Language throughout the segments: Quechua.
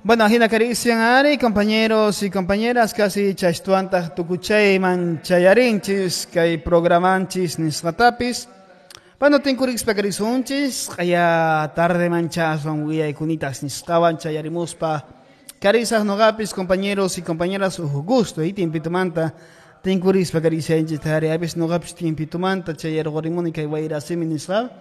Bueno, ajina karisian ari, compañeros y compañeras, casi chaystuantaq tukuchayman chayarinchis, kay programanchis nisqatapis. Bueno, tinkurispa karisunchis, qaya tarde manchaswan willaykunitas nisqawan chayarimuspa. Karisaq noqapis, compañeros y compañeras, uj gusto, y timpitumanta tinkurispa karisianchis, tari apis noqapis timpitumanta chayarqurimuni kay wayrasimi nisqa.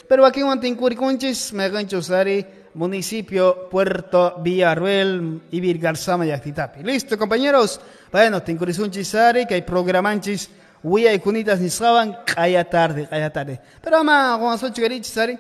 Pero wakinwan tinkurikunchis, mayqinchus ari, municipio Puerto Villarruel y Virgarzama llaqtitapi. Listo, compañeros. Bueno, tinkurisunchis ari, kay programanchis willaykunitas nisqawan q'aya tarde, q'aya tarde. Pero ama qunqasunchu karichis ari.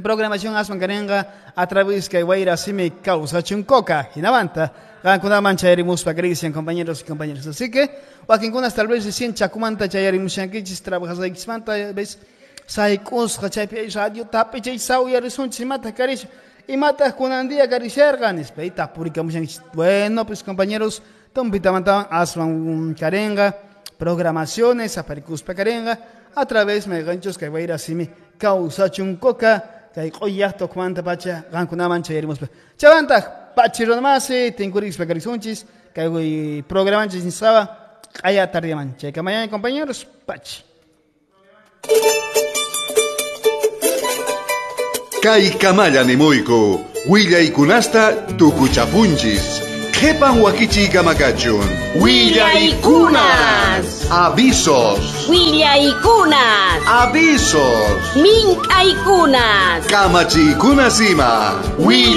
Programación aswan karinqa a través kay wayrasimi kawsachun coca. Hinamanta qankunaman chayarimuspa karisian, compañeros y compañeras. Así que wakinkunas tal vez recién chakumanta chayarimushankichis trabajasqaykichismanta, ves sayk'usqa chaypi radio tapi chay sawyarisunchis imata karisha imataq kunan día karisharqa nispa y tapurikamushankichis. Bueno, pues compañeros, tumpitamantawan aswan karinqa programaciones aparikuspa karinqa a través mayqanchus kay wayrasimi kawsachun coca kay q'ullaqta ukhumanta pacha qankunaman chayarimuspa. Chawantaq pachirunamasi tinkurispa karisunchis kay programanchis nisqawan q'aya tardiaman. Chaykamayay compañeros, pachi. Kay kamalla nimuyku, willaykunasta tukuchapunchis. Qhipan wakichiy kamakachun. Willaykunas. Avisos. Willaykunas. Avisos. Mink'aykunas. Kamachiykunas ima.